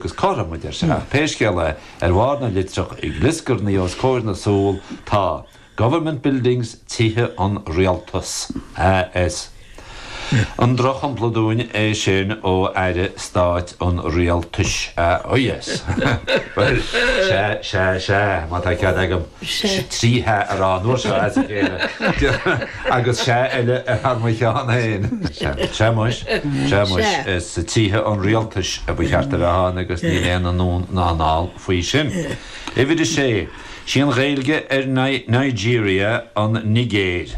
Agus cothrom, a deir sé, ach pé scéal é, ar bharr na litreach ag glioscarnaigh os comhair na súl tá, Government Buildings, Tithe an Rialtais. AS. An drochshampla dúinn é sin ó Aire Stáit an Rialtais? AS. Bhuel, sea, sea, sea, má tá cead agam 3 shea a rá an uair seo as a chéile, agus sea eile thar mo cheann féin. Sea muis, sea muis, is tithe an rialtais a ba cheart a bheith ann agus níl aon anonn ná anall faoi sin. Uimhir a sé, Sí an Ghaeilge ar Nigeria an Nigéir.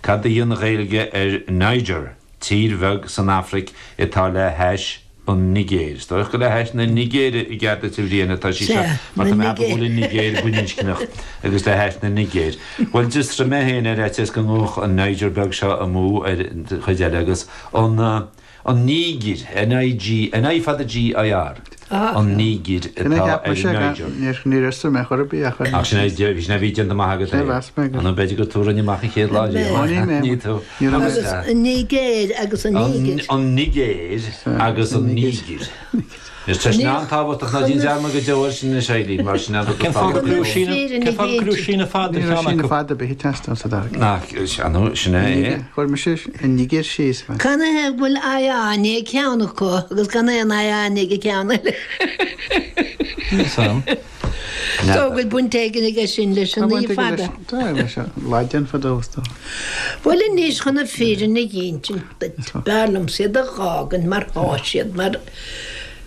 Cad í an Ghaeilge ar Niger, tír bheag san Afraic atá le hais an Nigéir. Is dóigh gur le hais na Nigéire i gcead duit a Bhriain atá sí seo mar tá mé ag ceapadh go bhfuil an Nigéir baininscneach agus le hais na Nigéir. Bhuel d'fhiosraigh mé féin ar fhaitíos go ngabhfadh an Niger beag seo amú ar an chuid eile agus an an Nígir, N-I-G, N-I fada G-I-R, an Nígir atá ar Niger. Níor fhiosraigh mé chor ar bith ach Ach sin é, sin é bhí déanta amach agat é. Nó b'fhéidir gur tú a rinne amach an chéad lá riamh. Ní tú. Agus an Nigéir agus an Nígir. An Nigéir agus an Nígir. Is tá sin an-tábhachtach, ná déan dearmad go deo air sin anois, Eileen, mar sin an rud Cén fáth go raibh síneadh síneadh fada Ní raibh síneadh fada ar bith ag teastáil sa dara ceann. Nach, sin é é. Chuir mise an Nigéir síos. Canathaobh go bhfuil I A i ndiaidh ceann acu agus gan aon I A i ndiaidh an ceann eile? Níl 's a'm. Is dóigh go bhfuil baint éigin aige sin leis an I fada. Tá leis an Laidin fadó is dóigh. Bhuel anois chun na fírinne a dh'ínsint duit, b'fhearr liomsa iad a dh'fhágaint mar thá siad, mar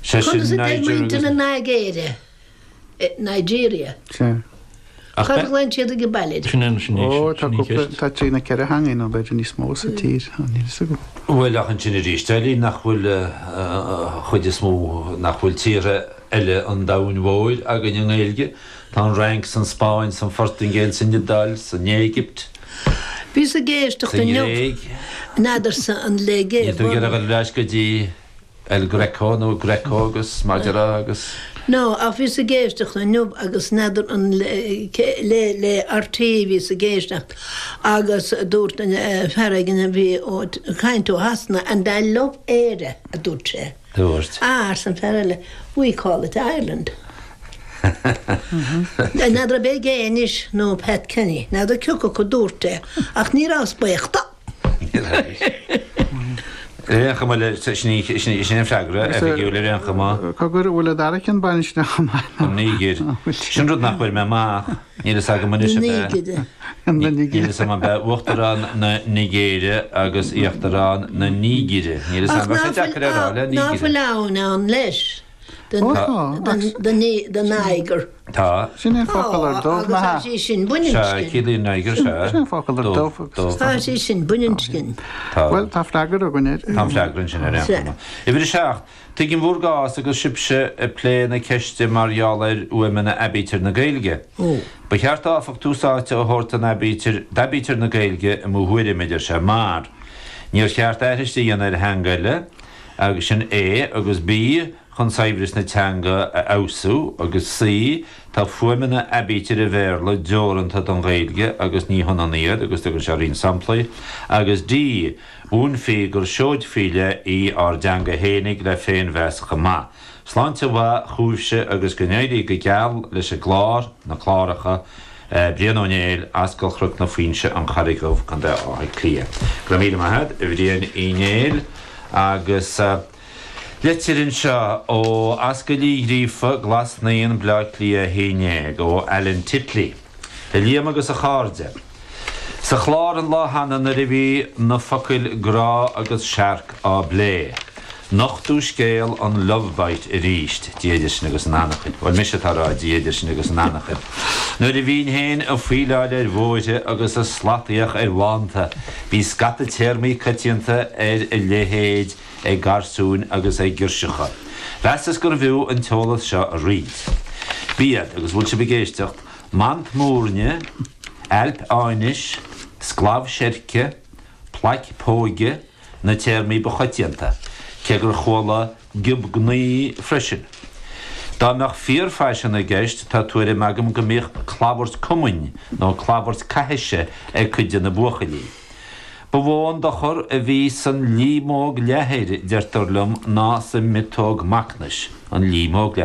Sé sin conas a deir Niger muintir agus. na Nigéire, Nigeria? Sea. Ach Cad a ghlaonn siad ag baile air? Sin é, sin é, Ó, tá sin í cúpla, ceist. tá trí nó ceithre theangaidh nó b'fhéidir níos mó sa tír, níl fhios agam. Bhuel ach ansin arís, Eileen, nach bhfuil an chuid is mó, nach bhfuil tíortha eile an domhain mhóir againn i nGaeilge. Tá an Fhrainc, 's an Spáinn, 's an Phortaingéil, 's an Iodáil, 's an Éigipt, Bhíos ag éisteacht sa inniu, nGréig. n'fheadarsa an le Níl tú ag iarraidh dul ar ais go dtí El Greco nó Greco agus mar déarfá agus. No, ach bhíos ag éisteacht inniu agus n'fheadar an le le RTÉ a bhíos ag éisteacht agus dúirt fear éigin a bhí ag caint ó Shasana and I love Éire a dúirt sé. Dúirt. Ah, arsa an fear eile, we call it Ireland. N'fheadar ab é Gay anois nó Pat Kenny, n'fheadar cioca acu a dúirt é, ach ní rabhas buíoch dó. Ar aon chuma, sin é an freagra oifigiúil ar aon chuma. Cogar, an bhfuil an dara ceann baininscneach chomh maith? An Nígir. Sin rud nach bhfuair mé amach. Níl fhios agam anois ab ea. Níl fhios agam ab ea Uachtarán na Nigéire agus Íochtarán na Nígire. Níl fhios agam, bheadh sé deacair a rá le Ach ná Nígire. fuil abhainn ann leis do Niger? Tá. Sin é an focal ar dubh, Tá, agus nach tá ea? sí sin Sea, baininscin. ciallaíonn Niger, sea. Sin é an focal ar Dubh, dubh. dubh. Tá sí sin baininscin. Tá. Bhuel, tá freagra againn air. Tá an freagra ansin ar aon chuma. Uimhir a 7. Tuigim bhur gcás agus sibhse ag plé na ceiste mar gheall ar fhuaimeanna aibítir na Gaeilge. Ba cheart áfach tús áite a thabhairt don aibítir, d'aibítir na Gaeilge i mo thuairim, a deir sé, mar níor cheart aithris a dhéanamh ar theanga eile, agus sin A, agus B, chun saibhreas na teanga a fheabhsú, agus C, tá fuaimeanna aibítir an Bhéarla deoranta don Ghaeilge agus ní hionann iad, agus tugann sé roinnt samplaí, agus D, Mhúinfí gur seoid faoi leith í ár dteanga fhéinig le féinmheas chomh maith. Sláinte mhaith chugaibhse agus go n-éirí go geal leis an gclár, na cláracha, Brian Ó Néill, Ascaill Chnoc na Foinse, An Charraig Dhubh, Contae Átha Cliath. Go raibh míle maith agat, a Bhriain Uí Néill. Agus litir anseo ó Ascaill Uí Ghríofa, Glas Naíon, Bleá Cliath 11, ó Alan Titley. A Liam agus a chairde. Sa chlár an lá cheana nuair a bhí na focail grá agus searc á bplé, nochtadh scéal an love bite arís, Dia idir sinn agus an anachain. Bhuel, mise atá ag rá Dia idir sinn agus an anachain. Nuair a bhínn féin ag faoileáil ar bhóithre agus ag slataíocht ar bhánta, bhí scata téarmaí coitianta ar a leithéid ag garsúin agus ag girseacha. Mheasas gurbh fhiú an t-eolas seo a roinnt. B'iad, agus bhfuil sibh ag éisteacht, mant mhúirne, ailp áinis, sclamh seirce, plaic póige, na téarmaí ba choitianta, cé gur chuala giob gnaoi freisin. Dá mbeadh fíorphaisean i gceist, tá tuairim agam go mbíodh clabhairt cumainn nó clabhairt caithise ag cuid de na buachaillí. Ba mhó an dochar a bhí san líomóg leathair, deirtear liom, ná sa mhiotóg macnais. An líomóg leathair.